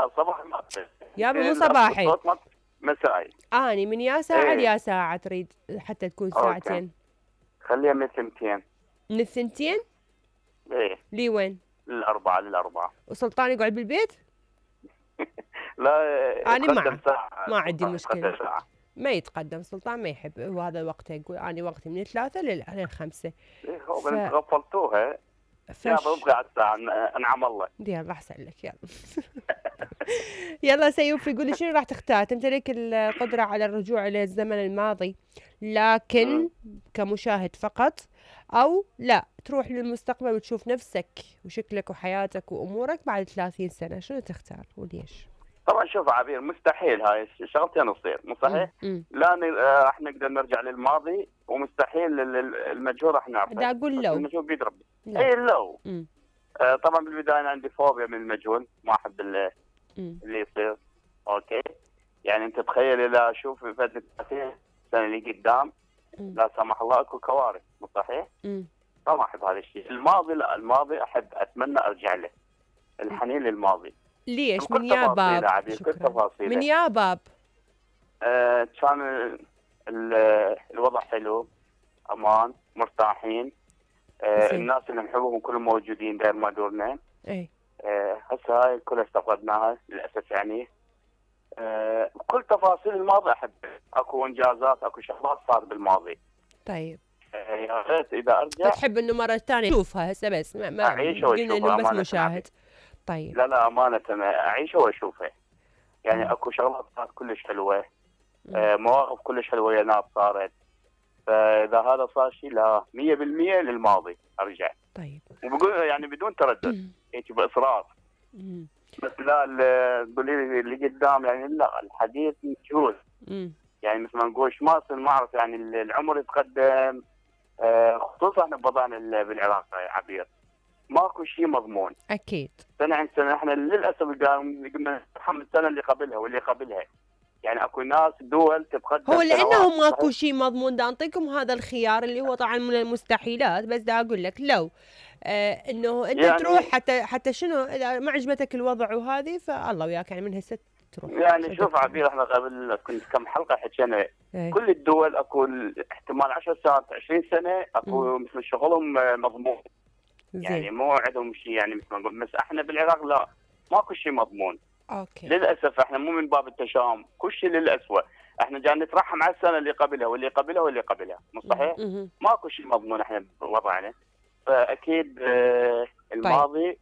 لا صباح ما يابا مو صباحي، مسائي. اني من يا ساعه ليا ساعه تريد حتى تكون ساعتين؟ خليها من 2. من 2؟ ايه. لي وين؟ للأربعة. وسلطان يقعد بالبيت؟ لا أنا معك، ما عندي مشكلة. ما يتقدم سلطان، ما يحب هو هذا وقته، يقول أنا وقتي من 3 لل5. إيه هو انت غفلتوها. يا ببقى الساعة انعم الله. يلا احسن لك يلا. يلا سيوف يقول لي شنو راح تختار؟ تمتلك القدرة على الرجوع إلى الزمن الماضي لكن كمشاهد فقط، أو لا تروح للمستقبل وتشوف نفسك وشكلك وحياتك وأمورك بعد 30 سنة، شنو تختار وليش؟ طبعا شوف عبير، مستحيل هاي شغلتين تصير، مو صحيح؟ لا راح نقدر نرجع للماضي، ومستحيل المجهول راح نعرفه. دا أقول لو المجهول بيد ربي. اي لو. طبعا بالبداية أنا عندي فوبيا من المجهول، ما أحب اللي يصير. اوكي، يعني انت تخيل اذا اشوف في فتره 30 سنه اللي قدام لا سمح الله اكو كوارث، مو صحيح؟ ما احب هذا الشيء. الماضي لا، الماضي احب اتمنى ارجع له، الحنين للماضي. ليش؟ من يا باب؟ من يا باب؟ كان الوضع حلو، امان، مرتاحين، الناس اللي نحبهم كلهم موجودين داير ما دورنا. اي هسه هاي كلها استفقدناها للاسف. يعني كل تفاصيل الماضي احب، اكو انجازات، اكو شغلات صار بالماضي. طيب يا ريت اذا ارجع تحب انه مره ثانيه تشوفها هسه، بس ما اعيش واشوفها، انه بس مشاهد. طيب لا امانه اعيش واشوفها. يعني اكو شغلات صارت كلش حلوه، مواقف كلش حلوه يا ناس صارت. فاذا هذا صار شيء لا 100% للماضي ارجع. طيب وبقول يعني بدون تردد، هيك باصرار. بس لا تقولي لي اللي قدام، يعني لا الحديث مجهول. يعني مثل ما نقول ما اعرف، يعني العمر يتقدم، خصوصا احنا بوضعنا بالعراق يا عبير ماكو شيء مضمون. اكيد سنه عن سنه احنا للاسف قمنا نتحمل السنه اللي قبلها واللي قبلها. يعني اكو ناس دول تتقدم هو لانه ماكو شيء مضمون. دا اعطيكم هذا الخيار اللي هو طبعا من المستحيلات، بس دا اقول لك لو انه انت يعني تروح حتى شنو اذا ما عجبتك الوضع وهذه، فالله وياك يعني من هسه تروح. يعني شوف عبير، احنا قبل كنت كم حلقه حكينا كل الدول اكو احتمال 10 سنوات 20 سنه اكو مثل شغلهم مضمون. يعني مو عندهم شيء، يعني مثل ما نقول. بس احنا بالعراق لا، ماكو شيء مضمون. اوكي للاسف احنا مو من باب التشاؤم، كل شيء للاسوء. احنا جاي نترحم على السنه اللي قبلها واللي قبلها واللي قبلها، مو صحيح؟ ماكو شيء مضمون احنا بوضعنا. فاكيد الماضي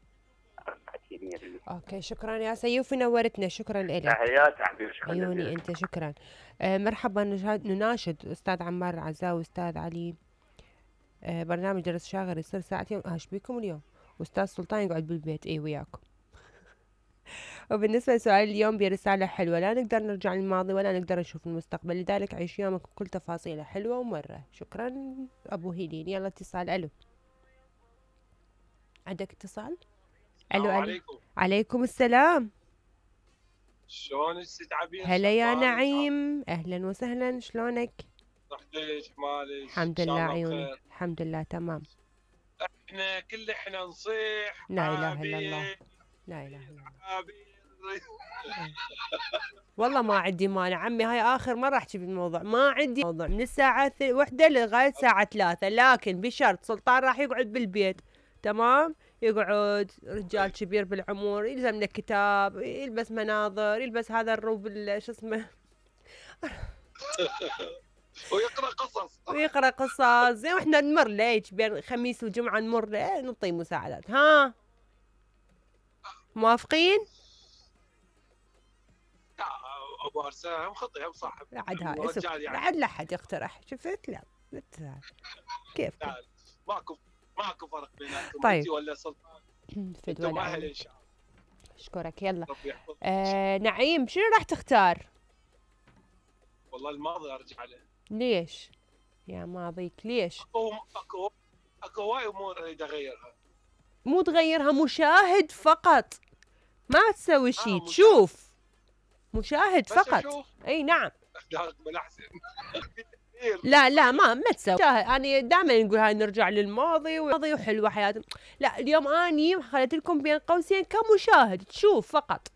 اكيد 100%. اوكي شكرا يا سيوف، نورتنا، شكرا لك. تحياتي حبيبي، شكرا عيوني انت، شكرا. مرحبا. نناشد استاذ عمار العزاوي واستاذ علي، برنامج درس شاغر يصير ساعتين، ايش بيكم اليوم؟ واستاذ سلطان يقعد بالبيت وياكم. وبالنسبة لسؤال اليوم برسالة حلوة، لا نقدر نرجع للماضي ولا نقدر نشوف المستقبل، لذلك عيش يومك بكل تفاصيله حلوة ومرة. شكرا أبو هيلين. يلا اتصال. ألو، عندك اتصال؟ ألو عليكم. عليكم السلام. شلونك ست عبير؟ هلا يا نعيم، أهلا وسهلا، شلونك؟ صحتك مالك؟ الحمد لله عيوني، الحمد لله تمام. احنا نصيح لا إله إلا الله، لا إله إلا الله. والله ما عندي مانع عمي، هاي آخر مرة أحكي بالموضوع، ما عندي موضوع من الساعة 1 لغاية الساعة 3، لكن بشرط سلطان راح يقعد بالبيت. تمام، يقعد رجال كبير بالعمر، يلزم له كتاب، يلبس مناظر، يلبس هذا الروب شو اسمه ويقرأ قصص زين، واحنا نمر له بين خميس وجمعة نمر له نعطيه مساعدات. ها موافقين؟ ابو ارسام خطيها وصاحب عاد هاي بعد لا حد يقترح، شفت؟ لا كيف ماكو فرق بيناتكم. طيب انت ولا سلطان؟ انتم اهل ان شاء الله. اشكرك. يلا نعيم، شنو راح تختار؟ والله الماضي ارجع له. ليش يا ماضيك؟ ليش؟ اكو وايد امور اريد اغيرها. مو تغيرها، مشاهد فقط، ما تسوي شيء، تشوف، مشاهد فقط. اي نعم. لا ما تسوي. انا دائما نقول هاي نرجع للماضي وحلوه حياتنا. لا اليوم اني خليت لكم بين قوسين كمشاهد، تشوف فقط.